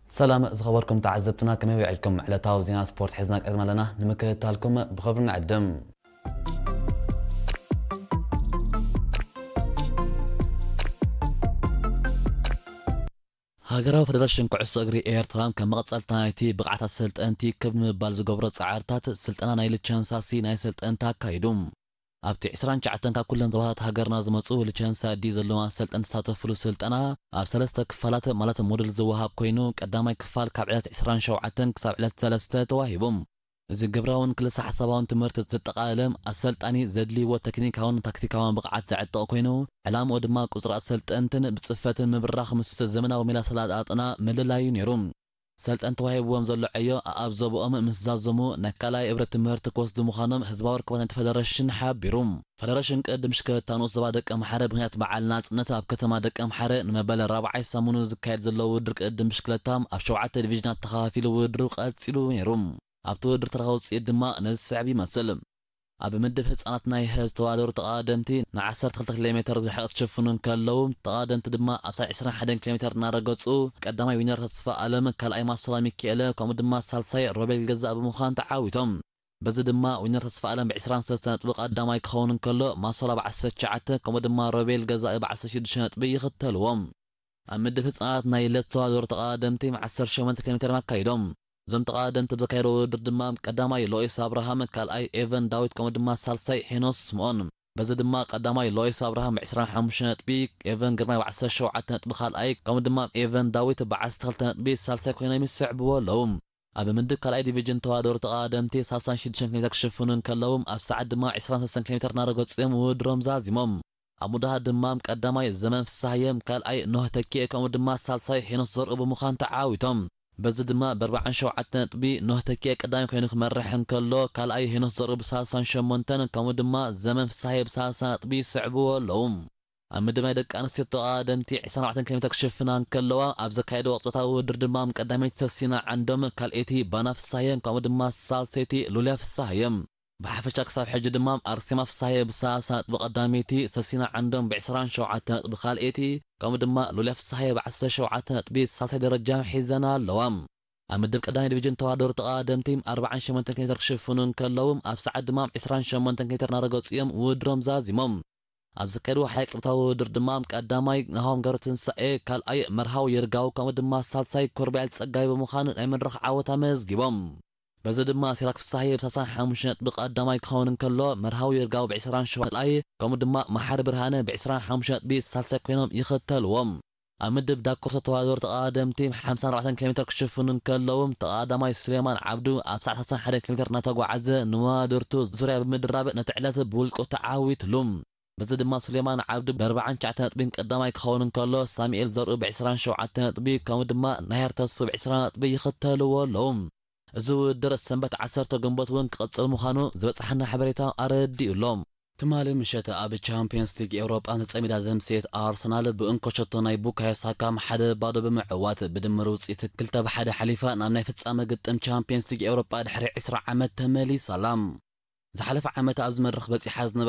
ሰላም ዝኸበርኩም ተዓዘብትና፣ ከመይ ውዒልኩም? ዕለታዊ ዜና ስፖርት ሒዝና ቀሪብና ኣለና፣ ንምክትታልኩም ብኽብሪ ንዕድም። ሃገራዊ ፈደረሽን ኩዕሶ እግሪ ኤርትራ ከም መቐጸልታ ናይቲ ብቕዓት ኣሰልጠንቲ ክብ ንምባል ዝገብሮ ጻዕርታት፣ ስልጠና ናይ ልቸንሳ ሲ ናይ ኣሰልጠንቲ ኣካይዱ። ኣብቲ ዕስራን ትሽዓተን ካብ ኩለን ዞባታት ሃገርና ዝመጹ ልቸንሳ ዲ ዘለዎም ኣሰልጠንቲ ዝሳተፍሉ ስልጠና ኣብ ሰለስተ ክፋላት ማለት ሞዱል ዝወሃብ ኮይኑ፣ ቀዳማይ ክፋል ካብ ዕለት ዕስራን ሸውዓተን ክሳብ ዕለት ሰለስተ ተዋሂቡ። እዚ ግብራውን ክልሰ ሓሳባውን ትምህርቲ ዘጠቓለለ፣ ኣሰልጣኒ ዘድልይዎ ተክኒካውን ታክቲካውን ብቕዓት ዘዕጥቕ ኮይኑ፣ ዕላምኡ ድማ ቁጽሪ ኣሰልጠንትን ብጽፈትን ምብራኽ ምስ ዘመናዊ ሜላ ኣሰላጣጥና ምልላዩ ነይሩ። ሰልጠንቲ ተዋሂብዎም ዘሎ ዕዮ ኣኣብ ዞብኦም ምስ ዛዘሙ፣ ናይ ካልኣይ እብረት ትምህርቲ ክወስዱ ምዃኖም ህዝባዊ ርክባት ናይቲ ፈደረሽን ሓቢሩ። ፈደረሽን ቅድድም ብሽክለታ ንኡስ ዞባ ደቀምሓረ፣ ብምኽንያት በዓል ናጽነት ኣብ ከተማ ደቀምሓረ ንመበል ራብዓይ ሰሙኑ ዝካየድ ዘሎ ውድድር ቅድድም ብሽክለታ ኣብ ሸውዓተ ዲቪዥናት ተኸፋፊሉ ውድድሩ ቀጺሉ ነይሩ። ኣብቲ ውድድር ተረኻ ውጽኢት ድማ ነዚ ዝስዕብ ይመስል። ኣብ ምድብ ህጻናት ናይ ህዝቢ ተወዳደሩ ተቐዳደምቲ፣ ን ዓሰርተ ክልተ ኪሎ ሜተር ርሕቀት ክሽፍኑ እንከለዉ፣ ተቐዳደምቲ ድማ ኣብ ሳዕ ዕስራን ሓደን ኪሎ ሜተር እናረገጹ፣ ቀዳማይ ዊነር ተስፋ ኣለም፣ ካልኣይ ማሶላ ሚካኤለ፣ ከምኡ ድማ ሳልሳይ ሮቤል ገዛእ ብምዃን ተዓዊቶም። በዚ ድማ ዊነር ተስፋ ኣለም ብ ዕስራን ሰለስተን ነጥቢ ቀዳማይ ክኸውን እንከሎ፣ ማሶላ ብ ዓሰርተ ትሽዓተ፣ ከምኡ ድማ ሮቤል ገዛኢ ብ ዓሰርተ ሽዱሽተ ነጥቢ ይኽተልዎም። ኣብ ምድብ ህጻናት ናይ ለት ተወዳደሩ ተቐዳደምቲ ዓሰርተ ሸሞንተ ኪሎ ሜተር ኣካይዶም። እዞም ተቐዳደምቲ ብዘካየዶ ውድድር ድማ ቀዳማይ ሎይስ ኣብርሃም፣ ካልኣይ ኤቨን ዳዊት፣ ከምኡ ድማ ሳልሳይ ሄኖስ ስምኦን። በዚ ድማ ቀዳማይ ሎይስ ኣብርሃም ብ ዕስራን ሓሙሽተ ነጥቢ፣ ኤቨን ግርማይ ብ ዓሰርተ ሸውዓተ ነጥቢ ካልኣይ፣ ከምኡ ድማ ኤቨን ዳዊት ብ ዓሰርተ ክልተ ነጥቢ ሳልሳይ ኮይኖም ይስዕብዎ ኣለዉ። ኣብ ምድብ ካልኣይ ዲቪዥን ተወዳደሩ ተቐዳደምቲ ሰላሳን ሽዱሽተን ኪሎ ሜተር ክሽፍኑ እንከለዉ፣ ኣብ ሰዓት ድማ ዕስራን ሰለስተን ኪሎ ሜተር እናረገጹ እዮም ውድድሮም ዛዚሞም። ኣብ ምድብ ሃ ድማ ቀዳማይ ዘመን ፍስሃየ፣ ካልኣይ ኖህ ተኪኤ፣ ከምኡ ድማ ሳልሳይ ሄኖስ ዘርኡ ብምዃን ተዓዊቶም። በዚ ድማ ብ ኣርባዓን ሸውዓተን ነጥቢ ኖህ ተኪኤ ቀዳማይ ኮይኑ ክመርሕ እንከሎ፣ ካልኣይ ሄኖስ ዘርኡ ብ ሰላሳን ሸሞንተን፣ ከምኡ ድማ ዘመን ፍስሃየ ብ ሰላሳ ነጥቢ ይስዕብዎ ኣለዉ። ኣብ ምድብ ናይ ደቂ ኣንስትዮ ተቐዳደምቲ ዕስራን ኣርባዕተን ኪሎ ሜተር ክሽፍና እንከለዋ፣ ኣብ ዘካየደዎ ጾታዊ ውድድር ድማ ቀዳመይቲ ሰሲና ዓንዶም፣ ካልኣይቲ ባና ፍስሃየ፣ ከምኡ ድማ ሳልሰይቲ ሉልያ ፍስሃየ። ብሓፈሻ ክሳብ ሕጂ ድማ ኣርሴማ ፍስሃየ ብ ሰላሳ ነጥቢ ቀዳመይቲ፣ ሰሲና ዓንዶም ብ ዕስራን ሸውዓተን ነጥቢ ካልኣይቲ፣ ከምኡ ድማ ሉልያ ፍስሃየ ብ ዓሰርተ ሸውዓተ ነጥቢ ሳልሳይ ደረጃ ሒዘን ኣለዋ። ኣብ ምድብ ቀዳማይ ዲቪዥን ተወዳደሩ ተቐዳደምቲ ኣርባዓን ሸሞንተን ኪሎ ሜተር ክሽፍኑ እንከለዉ፣ ኣብ ሰዓት ድማ ዕስራን ሸሞንተን ኪሎ ሜተር እናረገጹ እዮም ውድድሮም ዛዚሞም። ኣብ ዘካየድዎ ሓደ ቅጽበታዊ ውድድር ድማ ቀዳማይ ናሆም ገብረትንሳኤ፣ ካልኣይ መርሃዊ ይርጋው፣ ከምኡ ድማ ሳልሳይ ኮርቢያል ጸጋይ ብምዃን ናይ መድረኽ ዓወት ኣመዝጊቦም። በዚ ድማ ሲራክ ፍሳሐየ ብ ሰላሳን ሓሙሽተ ነጥቢ ቀዳማይ ክኸውን እንከሎ፣ መርሃዊ ይርጋው ብ ዕስራን ሸውዓተን ካልኣይ፣ ከምኡ ድማ መሓሪ ብርሃነ ብ ዕስራን ሓሙሽተ ነጥቢ ሳልሳይ ኮይኖም ይኽተልዎም። ኣብ ምድብ ዳኮሶ ተወዳደሩ ተቐዳደምቲ ሓምሳን ኣርባዕተን ኪሎ ሜተር ክሽፍኑ እንከለዉ፣ ተቐዳዳማይ ሱሌማን ዓብዱ ኣብ ሰዓት ሰላሳን ሓደን ኪሎ ሜተር እናተጓዓዘ ንመዋድርቱ ዙርያ ብምድራብ ነቲ ዕለት ብውልቁ ተዓዊትሉ። በዚ ድማ ሱሌማን ዓብዱ ብ ኣርባዓን ትሽዓተን ነጥቢ ቀዳማይ ክኸውን እንከሎ፣ ሳሙኤል ዘርኡ ብ ዕስራን ሸውዓተን ነጥቢ፣ ከምኡ ድማ ናሄር ተስፉ ብ ዕስራ ነጥቢ ይኽተልዎ ኣለዉ። እዚ ውድድር ሰንበት ዓሰርተ ግንቦት እውን ክቕጽል ምዃኑ ዝበጽሓና ሓበሬታ ኣረዲኡ ኣሎ። ትማሊ ምሸት ኣብ ቻምፒየንስ ሊግ ኤውሮጳ ተጸሚዳ ዘምስየት ኣርሰናል ብእንኮ ሸቶ ናይ ቡካዮ ሳካ ሓደ ባዶ ብምዕዋት ብድምር ውጽኢት ክልተ ብ ሓደ ሓሊፋ ናብ ናይ ፍጻመ ግጥም ቻምፒየንስ ሊግ ኤውሮጳ ድሕሪ ዕስራ ዓመት ተመሊሳ ኣላ። ዝሓለፈ ዓመት ኣብዚ መድረኽ በጺሓ ዝነበረት